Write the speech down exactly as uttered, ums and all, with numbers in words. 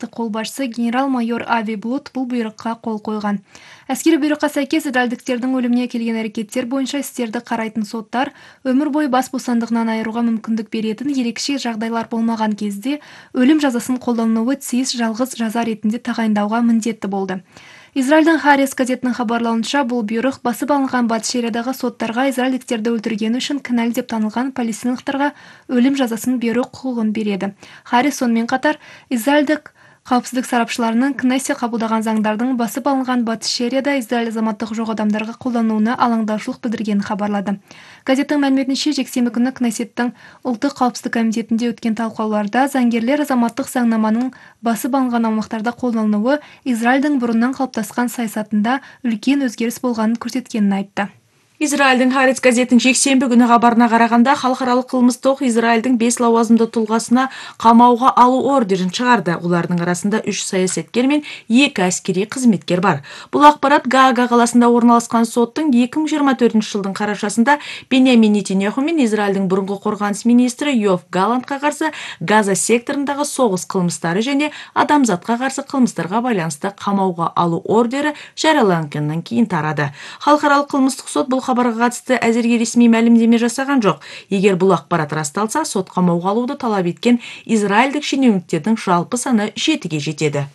Колбашчысы генерал-майор Ави Блут бул буйрукка кол койгон. Аскерий буйрукка сайкес израилдиктердин өлүмүнө келген аракеттер боюнча истерди карайтын соттар өмүр бою бас бостандыгынан айырууга мүмкүндүк беретін ерекше жагдайлар болмаган кезде өлүм жазасын колдонууну тийиз жалгыз жаза иретинде тагайындауга мындеттүү болду. Израилдин Харис газетинин хабарлауынча, бул буйрук басып алынган Батыш Шериядагы соттарга израилдиктерди өлтүргөнү үчүн кыналуу деп танылган палестиналыктарга өлүм жазасын берүү укугун берет. Харис сонун катар Израилдик каапсыздык сарапчыларынын Кнессе кабылдаган заңдардын басып алынган Батыш Шерияда Израиль азаматтыгы жок адамдарга колдонууна алаңдаушылык билдиргенин кабарлады. Газеттин маалиметинче, жексенби күнү Кнессеттин Улуттук каапсыздык комитетинде өткөн талкууларда заңгерлер азаматтык заңнаманын басып алынган аумактарда колдонууу Израилдин бурундан калыптаскан саясатында үлкен өзгөрүш болгонун көрсөткөнүн айтты. Израилдин Харис газетинин жексенби күнү кабарына караганда, Халкаралык кылмыштык Израилдин беш лауазымдуу тулгасына камауга алуу ордерин чыгарды. Улардын арасында үч саясаткер менен эки аскерий кызметкер бар. Бул акпарат Гаага каласында орналашкан соттун эки миң жыйырма төртүнчү жылдын карашасында Беньямин Нетаньяху менен Израилдин мурунку коргонуч министри Йоав Галлантка каршы Газа секторундагы согуш кылмыштары жана адамзатка каршы кылмыштарга байланыштуу камауга алуу ордери жарыялангандан кийин тарады. Халкаралык кылмыштык сот бул кабарга катысты азыркы ресмий маалимдеме жасаган жок. Эгер бул акпарат расталса, сот камауга алууду талап эткен израилдик шенеуниктердин жалпы саны жетиге жетеді.